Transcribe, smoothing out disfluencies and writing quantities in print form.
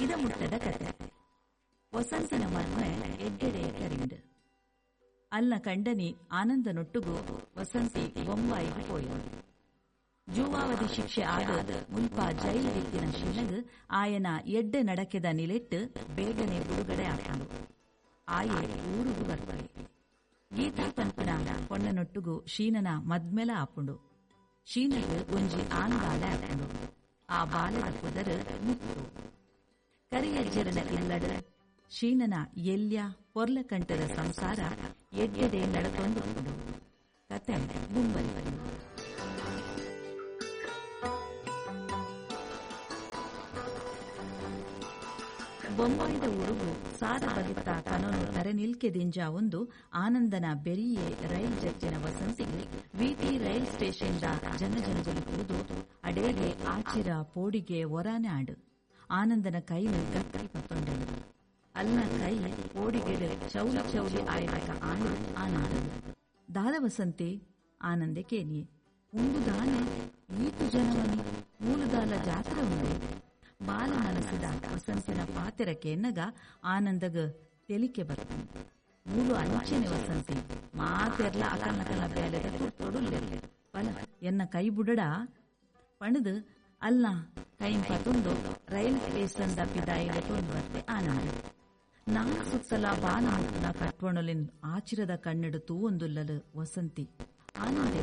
ಇದ ಮುಟ್ಟದ ಕತೆ. ವಸಂತನ ಮದ್ಮೆ ಎಡ್ಡೆಡೆ ಕರಿಂಡ್. ಅಲ್ನ ಕಂಡನಿ ಆನಂದನೊಟ್ಟುಗು ವಸಂತಿ ಬೊಂಬಾಯಿಗ್ ಪೋಯಲ್. ಜೂವಾವಧಿ ಶಿಕ್ಷೆ ಆದ್ ಮುಲ್ಪ ಜೈಲ್ ಡಿತ್ತಿನ ಶೀನಗ್ ಆಯನ ಎಡ್ಡೆ ನಡಕೆದ ನಿಲೆಟ್ಟ್ ಬೇಗನೆ ಬುಡುಗಡೆ ಆಪುಂಡು. ಆಯೆ ಊರುಗು ಬರ್ಪೆ. ಗೀತಾ ಪನ್ಪಿನ ಪೊಣ್ಣನೊಟ್ಟುಗು ಶೀನನ ಮದ್ಮೆಲ ಆಪುಂಡು. ಶೀನಗ್ ಒಂಜಿ ಆನ್ ಬಾಲೆ ಆಪುಂಡು. ಆ ಬಾಲೆದ ಪುದರ್ ಮುತ್ತು. ಕರಿಯಜ್ಜೆರೆನ ಇಲ್ಲಡ್ ಶೀನನ ಎಲ್ಯ ಪೊರ್ಲಕಂಟದ ಸಂಸಾರ ಎಡ್ಡೆಡೆ ನಡತೊಂದುಪ್ಪುಂಡು. ಕತೆ ದುಂಬರಿಪುಂಡು. ಬೊಂಬಾಯಿದ ಊರುಗು ಸಾರ ಬಗೆತ್ತ ಕನೊನು ತರೆನಿಲ್ಕೆ ದಿಂಜಾವೊಂದು ಆನಂದನ ಬೆರಿಯೆ ರೈಲ್ ಜತ್ತಿನ ವಸಂತಿಗ್ ವಿ.ಟಿ ರೈಲ್ ಸ್ಟೇಷನ್ದ ಜನಜಂಗುಲಿ ತೂದು ಅಡೇಗೆ ಆಚಿರ ಪೋಡಿಗೆ ಒರಾನೆ ಆಂಡ್. ಆನಂದನ ಕೈನ್ ಗಟ್ಟಿ ಪತ್ತೊಂಡಲ್. ಅಲ್ನ ಕೈ ಪೋಡಿಗೆಡ್ ಚೌಲಿ ಚೌಲಿ ಆಯಿಲೆಕ ಆಂಡ್ ಆನಂದಗ್. ದಾದ ವಸಂತಿ? ಆನಂದೆ ಕೇನಿಯೆ. ಉಂದು ದಾನೆ ಈತ್ ಜನವನಿ? ಮೂಲು ದಾಲ ಜಾತ್ರೆ ಉಂಡೆ? ಬಾಲೆ ಮನಸ್ಸ್ದ ವಸಂತಿನ ಪಾತೆರ ಕೇನ್ನಗ ಆನಂದಗ್ ತೆಲಿಕೆ ಬತ್ತ್ಂಡ್. ಮೂಲು ಅಂಚೆನೆ ವಸಂತಿ, ಮಾತೆರ್ಲ ಅಕಲ್ನಕಲ್ನ ಬೇಲೆದ ತುರ್ತೊಡುಲ್ಲೆರ್. ಬಲ ಎನ್ನ ಕೈ ಬುಡಡ ಪಂಡ್ದ್ ಅಲ್ನ ಕೈನ್ ಪತೊಂದು ರೈಲ್ ಸ್ಟೇಷನ್ದ ಪಿದಾಯಿ ಲೆತೊಂದು ಬತ್ತೆ ಆನಂದ್. ನಾಲ್ ಸುತ್ತಲ ಬಾನ ಮುಟ್ಟುನ ಕಟ್ವಣೊಲೆನ್ ಆಚಿರದ ಕಣ್ಣ್ಡ್ ತೂವೊಂದುಲ್ಲಲ್ ವಸಂತಿ. ಆನಂದೆ